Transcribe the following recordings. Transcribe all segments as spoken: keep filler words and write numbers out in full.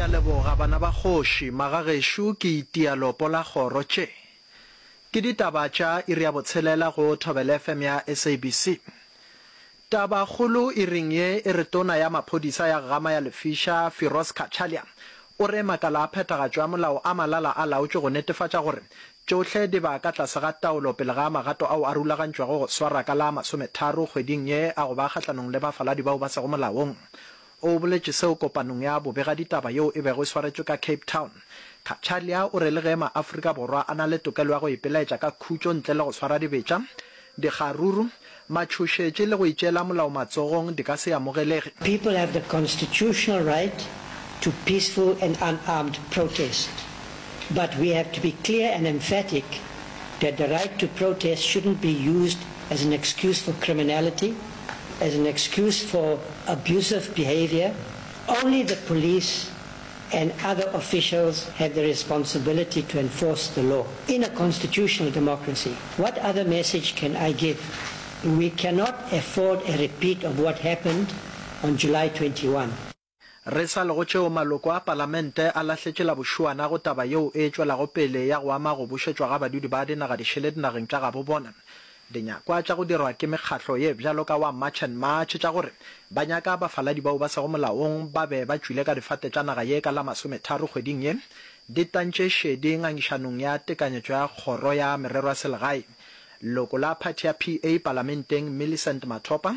Re a leboga bana ba kgoši, magagešo ke itia lopo la kgoro tše. Ke ditaba tša iri ya botshelela go Thobela F M ya S A B C. Tabakgolo iring ye e re tona ya maphodisa ya Gama ya Lefiša, Firoz Cachalia, o re makala a phethagatšo ya molao a malala a laotšwe go netefatša gore tšohle di ba ka tlase ga taolo pele ga magato ao a rulagantšwego go swara ka la masometharo kgweding ye a go ba kgahlanong le bafaladi bao ba sego molaong. O boletše seo kopanong ya bobegaditaba yeo e bego e swaretšwe ka Cape Town. Cachalia o re le ge maAfrika Borwa a na le tokelo ya go ipelaetša ka khutšo ntle le go swara dibetša, dikgaruru, matšhošetši le go itšeela molao matsogong di ka se amogelege. People have the constitutional right to peaceful and unarmed protest, but we have to be clear and emphatic that the right to protest shouldn't be used as an excuse for criminality, as an excuse for abusive behavior. Only the police and other officials have the responsibility to enforce the law in a constitutional democracy. What other message can I give? We cannot afford a repeat of what happened on July twenty-one. Re sa le go tšeo maloko a palamente a lahletše la bošuana go taba yeo e tšwelago pele ya go ama go bušetšwa ga badudi ba dinaga dišele dinageng tša gabo bona. Dinyakwa tša go dirwa ke mekgatlo ye bjalo ka wa March and March tša gore ba nyaka bafaladi bao ba sego molaong ba be ba tšwile ka difate tša naga ye ka la masometharo kgweding ye di tantše šedi ngangišanong ya tekanyetšo ya kgoro ya merero ya selegae. Leloko la phathi ya P A palamenteng Millicent Mathopa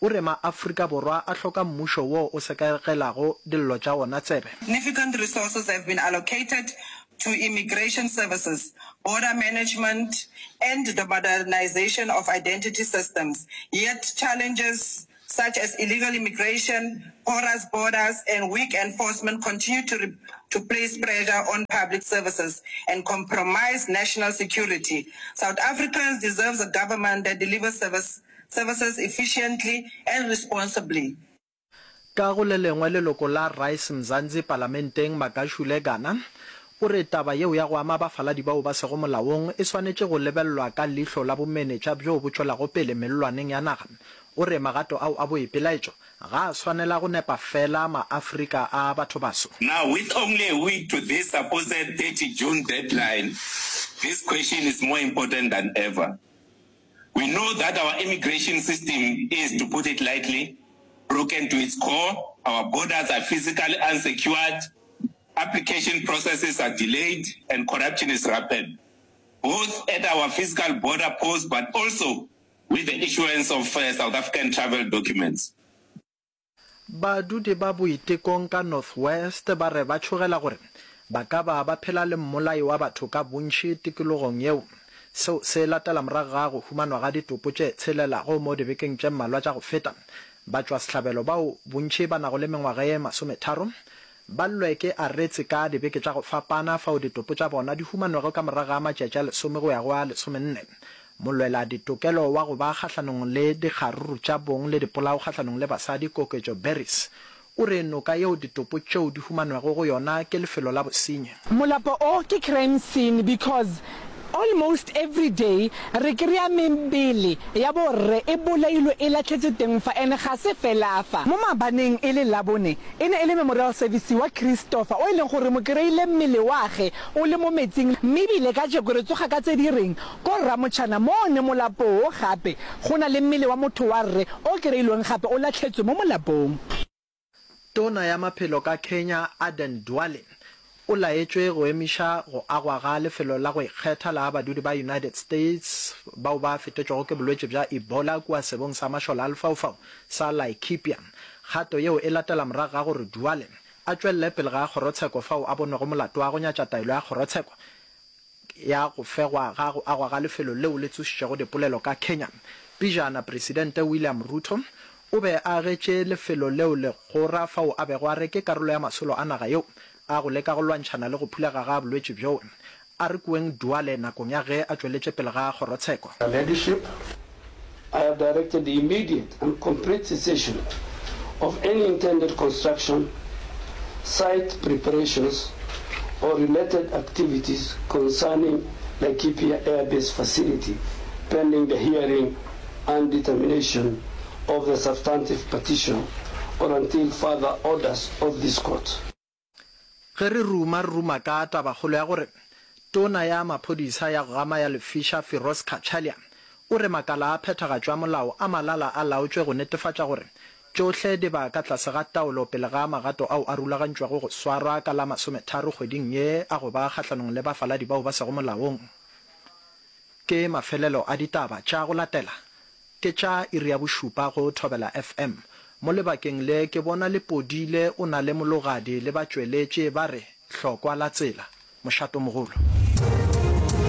o re maAfrika Borwa a hloka mmušo wo o sekegelago dillo tša wona tsebe. Significant resources have been allocated to immigration services, border management, and the modernization of identity systems. Yet challenges such as illegal immigration, porous borders, and weak enforcement continue to, re-, to place pressure on public services and compromise national security. South Africans deserve a government that delivers service, services efficiently and responsibly. Ka go le lengwe leloko la Rise Mzansi palamenteng Magashule Gana o re taba yeo ya go ama bafaladi bao ba sego molaong e swanetše go lebellwa ka leihlo la bomenetša bjo bo tšwelago pele mellwaneng ya naga. O re magato ao a boipelaetšo ga a swanela go nepa fela maAfrika a batho baso. Now, with only a week to this supposed thirty June deadline, this question is more important than ever. We know that our immigration system is, to put it lightly, broken to its core. Our borders are physically unsecured, application processes are delayed, and corruption is rampant, both at our physical border posts, but also with the issuance of, uh, South African travel documents. Badudi ba boitekong ka North West ba re ba tšhogela gore ba ka ba ba phela le mmolai wa batho ka bontši tikologong yeo. Seo se latela morago ga go humanwa ga ditopo tše tshelelago mo dibekeng tše mmalwa tša go feta. Batšwasehlabelo bao bontši ba nago le mengwaga ye masometharo ba llwe ke aretse ka dibeke tša go fapana fao ditopo tša bona di humanwego ka morago ga matšatši a lesome go ya go a lesomenne. Molwela ditokelo wa go ba kgahlanong le dikgaruru tša bong le dipolao kgahlanong le basadi Koketšo Beris o re noka yeo ditopo tšeo di humanwego go yona ke lefelo la bosenyi. Molapo o ke crime scene because almost every day re kry-a mebele ya borre e bolailwe e latlhetswe teng fa, ene ga se fela fa. Mo mabaneng e le Labone e ne e le memorial service wa Christopher o e leng gore mo kry-ile mmele wa ge o le mo metsing, mme ebile ka jeko re tsoga ka tse di reng ko Ramotšhana mo ne molapo o gape go na le mmele wa motho wa rre o kry-ilweng gape o latlhetswe mo molapong. Tona ya maphelo ka Kenya Aden Duale o laetšwe go emiša go agwa ga lefelo la go ikgetha la badudi ba United States bao ba fetetšwego ke bolwetši bja Ebola kua sebong sa mašole a lefaufau sa Laikipia. Kgato yeo e latela morago ga gore Duale a tšwelele pele ga kgorotsheko fao a bonwego molato wa go nyatša taelo ya kgorotsheko ya go fegwa ga go agwa ga lefelo leo le tsošitšego dipolelo ka Kenya. Pejana Presidente William Ruto o be a agetše lefelo leo legora fao a bego a re ke karolo ya masolo a naga yeo a go leka go lwantšhana le go phulega ga bolwetši bjoo. A re kueng Duale nakong ya ge a tšweletše pele ga kgorotsheko. Leadership, I have directed the immediate and complete cessation of any intended construction, site preparations, or related activities concerning Laikipia Air Base facility pending the hearing and determination of the substantive petition or until further orders of this court. Ge re ruma, re ruma ka tabakgolo ya gore Tona ya Maphodisa ya go gama ya lefiša Firoz Cachalia o re makala a phethagatšo ya molao a malala a laotšwe go netefatša gore tšohle di ba ka tlase ga taolo pele ga magato ao a rulagantšwego go swarwa ka la masometharo kgweding ye a go ba kgahlanong le bafaladi bao ba sego molaong. Ke mafelelo a ditaba tša go latela ke tša iri ya bošupa go Thobela FM. Mo lebakeng le ke bona Lepodile o na le Mologadi le batšweletši ba re hlokwa la tsela. Mošatomogolo.